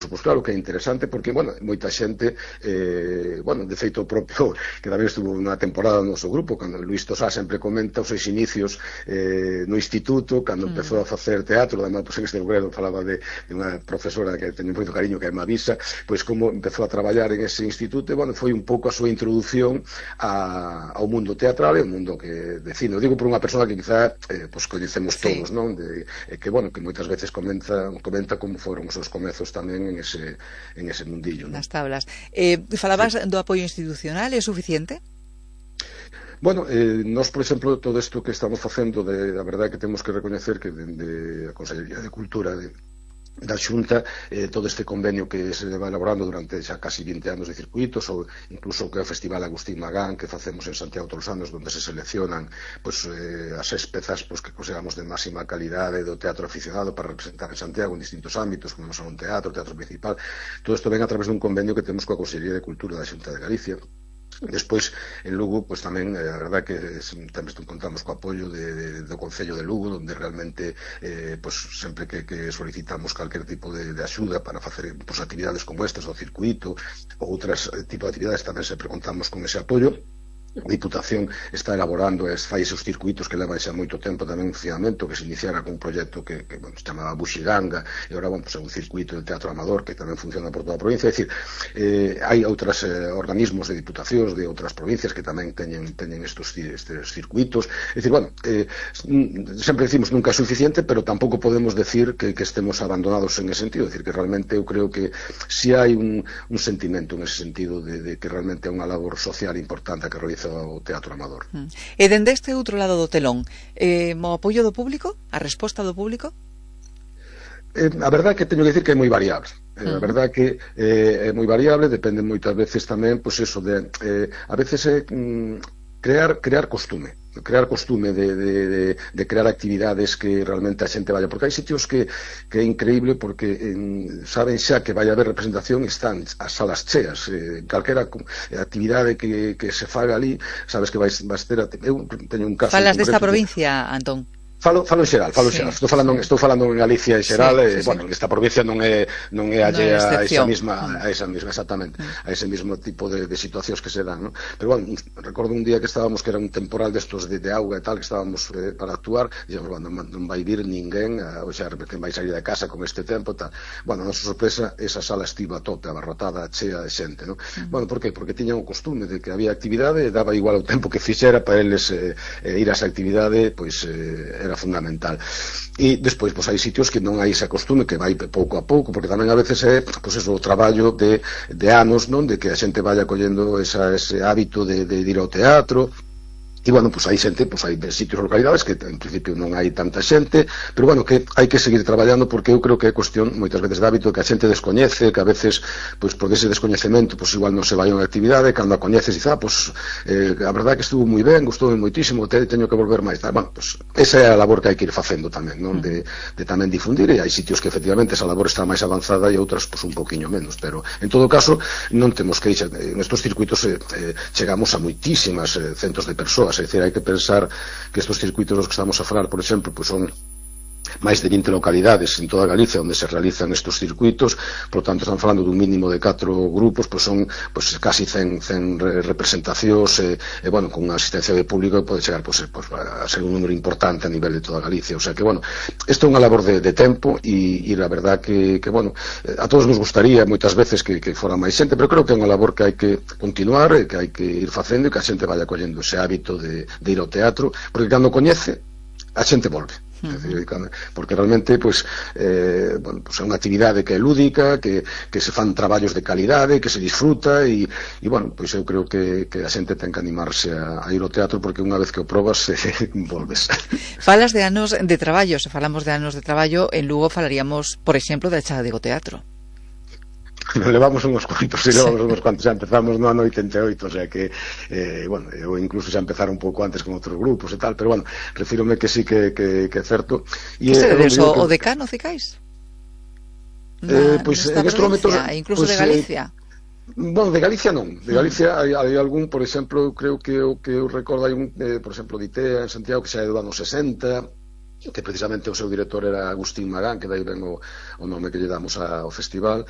Pois claro que é interesante porque, bueno, moita xente, bueno, de feito propio, que tamén estuvo unha temporada no noso grupo, cando Luis Tosá sempre comenta os seus inicios no instituto, cando empezou a facer teatro, además, pois en este lugar falaba de unha profesora que teño moito cariño, que é Mavisa, pois como empezou a traballar en ese instituto, e, bueno, foi un pouco a súa introducción ao mundo teatral e ao mundo que de cine. Digo por unha persona que quizá pois coñecemos todos, non? Que, bueno, que moitas veces comenta como foron os seus comezos tamén en ese mundillo, ¿no? Nas tablas. Falabas do apoio institucional, é suficiente? Bueno, nós, por exemplo, todo isto que estamos facendo, a verdade que temos que recoñecer que dende a Consellería de Cultura da Xunta, todo este convenio que se va elaborando durante xa casi 20 anos de circuitos, ou incluso o que é o Festival Agustín Magán que facemos en Santiago todos os anos, onde se seleccionan pues, as 6 pezas pues, que consideramos de máxima calidade do teatro aficionado para representar en Santiago en distintos ámbitos, como son teatro principal. Todo isto ven a través dun convenio que temos coa Consellería de Cultura da Xunta de Galicia. Despois, en Lugo, pues tamén, a verdade que tamén contamos co apoio do Concello de Lugo, onde realmente pues, sempre que solicitamos calquer tipo de axuda para facer pues, actividades como estas do circuito ou outras tipo de actividades, tamén sempre contamos con ese apoio. A Diputación está elaborando fai esos circuitos que leva xa moito tempo tamén en funcionamento, que se iniciara con un proxecto que bueno, se chamaba Buxiganga, e agora bueno, pues, é un circuito de teatro amador que tamén funciona por toda a provincia. É dicir, hai outros organismos de diputacións de outras provincias que tamén teñen estes circuitos. É dicir, bueno, sempre decimos nunca é suficiente, pero tampouco podemos decir que estemos abandonados en ese sentido. É dicir, que realmente eu creo que si hai un sentimento en ese sentido de que realmente é unha labor social importante que realiza o teatro amador. E dende este outro lado do telón, o apoio do público, a resposta do público? A verdade é que teño que dicir que é moi variable. A verdade é que é moi variable, depende moitas veces tamén, pois eso de a veces é crear costume de crear actividades que realmente a xente vaya, porque hai sitios que é increíble porque saben xa que vai haber representación e están as salas cheas, calquera actividade que se faga ali, sabes que vais ter. Eu teño un caso. Falas desta provincia, Antón? Falo en xeral, estou falando en Galicia en xeral, bueno, esta provincia non é allea a esa misma, exactamente, a ese mismo tipo de situacións que se dan, ¿no? Pero bueno, recordo un día que estábamos, que era un temporal destos de auga e tal, que estábamos para actuar, e dixemos, bueno, non vai vir ninguén, o xa, que vai salir de casa con este tempo, tal. Bueno, a nosa sorpresa, esa sala estivo a tope, abarrotada, chea de xente, ¿no? Bueno, por qué? Porque tiñan o costume de que había actividade e daba igual o tempo que fixera para eles ir a esa actividade, pois era fundamental. E despois, pois hai sitios que non hai ese costume, que vai pouco a pouco, porque tamén a veces é, pois eso, o traballo de anos, non? De que a xente vaya collendo ese hábito de ir ao teatro. E, bueno, pois hai xente, pois hai sitios, localidades que en principio non hai tanta xente, pero, bueno, que hai que seguir traballando, porque eu creo que é cuestión moitas veces de hábito que a xente descoñece, que a veces, pois, por ese descoñecemento, pois, igual non se vai a unha actividade, cando a coñeces, dice, pois, a verdade que estuvo moi ben, gustou moitísimo, teño que volver máis. Bueno, pois, esa é a labor que hai que ir facendo tamén, non? De tamén difundir, e hai sitios que, efectivamente, esa labor está máis avanzada e outras, pois, un poquinho menos, pero, en todo caso, non temos que ir, nestes circuitos chegamos a moitísimas centos de persoas. É dicir, hai que pensar que estes circuitos dos que estamos a falar, por exemplo, pues son máis de 20 localidades en toda Galicia onde se realizan estes circuitos, por tanto estamos falando dun mínimo de 4 grupos, pues son pues, casi 100 representacións bueno, con unha asistencia de público pode chegar pues, a ser un número importante a nivel de toda Galicia, o sea que, bueno, isto é unha labor de tempo e a verdad que bueno, a todos nos gustaría moitas veces que fora máis xente, pero creo que é unha labor que hai que continuar, que hai que ir facendo e que a xente vaya collendo ese hábito de ir ao teatro, porque cando coñece a xente volve. Porque realmente pues, bueno, pues é unha actividade que é lúdica, que se fan traballos de calidade, que se disfruta e bueno, pois eu creo que a xente ten que animarse a ir ao teatro, porque unha vez que o probas volves. Falas de anos de traballo, se falamos de anos de traballo, en Lugo falaríamos, por exemplo, da Chá de Teatro. Levamos uns cuantos, xa empezamos no ano 88, o sea que bueno, eu incluso xa empezar un pouco antes con outros grupos e tal, pero bueno, refírome que sí que é certo. Que sedes o decano, Cicais? Pois en estes momentos incluso de Galicia. Bueno, de Galicia non. De Galicia hai algún, por exemplo, creo que eu recordo hai un, por exemplo, de ITEA en Santiago que xa é do ano 60, que precisamente o seu director era Agustín Magán, que dai ben o nome que lle damos ao festival.